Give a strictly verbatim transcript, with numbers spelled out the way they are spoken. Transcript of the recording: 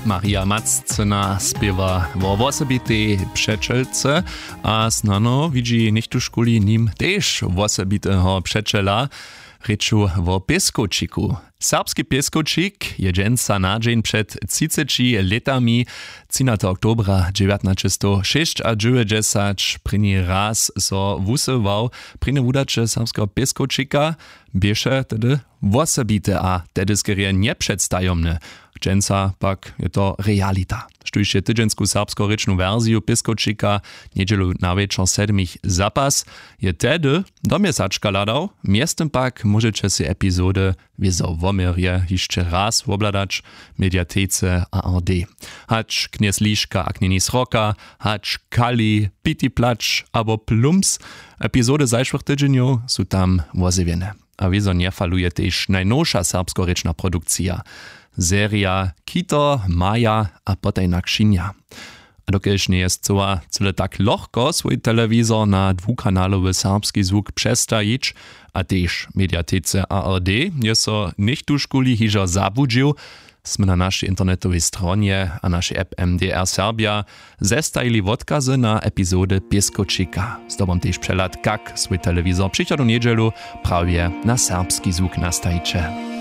Maria Maccyna spěwa wo wosebitej přećelce a snano widźi něchtóžkuli nim tež wosebiteho přećela. Rěču wo pěskowčiku. Serbski pěskowčik je dźensa na dźeń před třiceći lětami, třinateho oktobra dźewjatnaćestošěsćadźewjećdźesat prěni raz so wusyłał. Prěnje wudaće serbskeho pěskowčika běše tehdy wosebite a tehdy skerje njepředstajomne. Dźensa pak je to realita. Štóž je tydźensku serbskorěčnu wersiju pěskowčika njedźelu na wječor sedmich zapas, je tehdy do měsačka hladał. Mjeztym pak móžeće sej epizody wězo woměrje hišće raz wobhladać w mediatece ard. Hač knjez liška a knjeni sroka, hač kali piti plać abo plums, epizody zašłych tydźenjow su tam wozjewjene. A wězo njefaluje tež najnowša serbskorěčna produkcija, serija Kito, Maja a potajna křinja. A dokelž njeje scyła cyle tak lochko swój telewizor na dwukanalowy serbski zwuk přestajić a tež mediatece ard, je so něchtóžkuli hižo zabłudźił, smy na našej internetowej stronje a našej app mdr serbja zestajili wotkazy na epizody pěskowčika. Zdobom tež přehlad, kak swój telewizor přichodnu njedźelu prawje na serbski zwuk nastajiće.